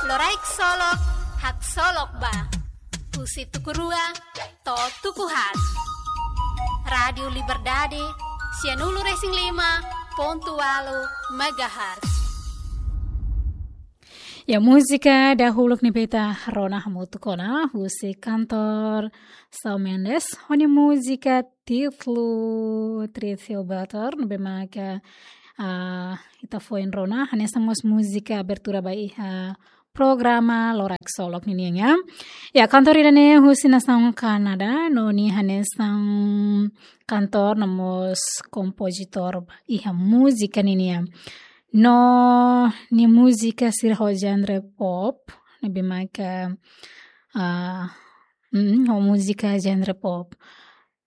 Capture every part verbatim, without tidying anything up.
Loraik Solok, haksolok ba. Husi tuku rua to'o tuku haat. Rádiu Liberdade, sianulu-resin-lima pontu ualu megahertz. Ya, múzika dahuluk ne'ebé ita rona hamutuk ona, husi kantór Shawn Mendes, ho nia múzika títulu Treat You Better, ne'ebé maka, ah, ita foin rona, hanesan mós múzika abertura ba iha programa Loraik Solok ninian. Ya, kantór ida-ne'e husi nasaun Kanadá, no nia hanesan kantór no mós kompozitór ba iha múzika ninian. No nia múzika sira ho genre pop, ne'ebé maka, ah, mm, ho múzika genre pop.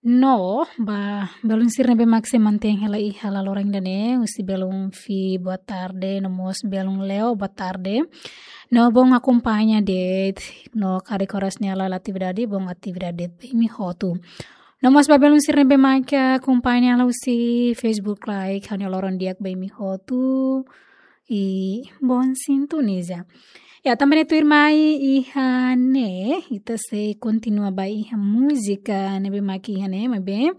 No, ba belun sira ne'ebé mak sei mantein hela iha laloran ida-ne'e, husi belun Fi boa tarde, no mós belun Leo boa tarde. No bom akompaña de'it, no karik oras ne'e halo atividade, bom atividade de'it ba imi hotu. No mós ba belun sira ne'ebé mak akompaña hela husi Facebook Live, ha'u-nia loron di'ak ba imi hotu. I bom sintoniza. Ya, tanba ne'e tuirmai iha ne'e, ita sei kontinua ba iha múzika ne'ebé mak iha ne'e, maibé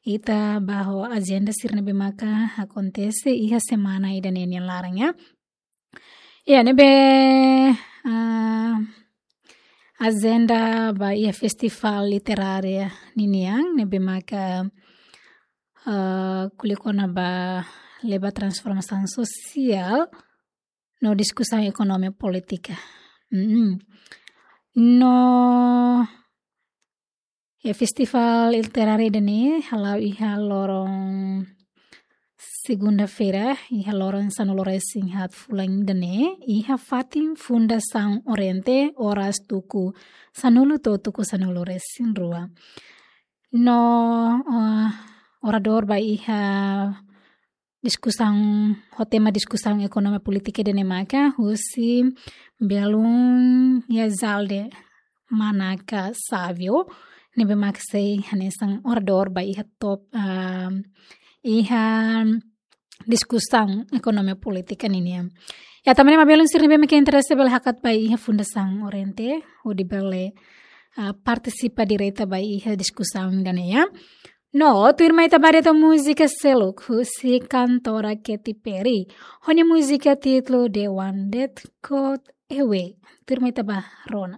ita bá ho ajenda sira ne'ebé maka akontese iha semana ida-ne'e nia laran, ya. Ya, ne'ebé, ah, ajenda ba iha festivál literária ninian, ne'ebé maka, ah, ko'alia kona-ba leba transformasaun sosiál no diskusaun ekonomia polítika. Mm. No, ya, festivál literáriu ida-ne'e hala'o iha loron segunda-feira, iha loron sanulu-resin-haat fulan ida-ne'e, iha fatin Fundasaun Oriente, oras tuku sanulu to'o tuku sanulu-resin-rua. No, eh, oradór ba iha diskusaun, ho tema diskusaun ekonomia polítika ida-ne'e maka husi belun Yazalde Manaka Savio, ne'ebé mak sei hanesan oradór ba iha top, ah, iha diskusaun ekonomia polítika ninian. Ya, tanba ne'e mak belun sira ne'ebé mak interese bele hakat ba iha Fundasaun Oriente, hodi bele, ah, partisipa direta ba iha diskusaun ida-ne'e, ya. No, tuirmai ita bá de'it ho múzika seluk husi kantora Katy Perry. Ho nia múzika títulu The One That Got Away. Tuirmai ita bá rona.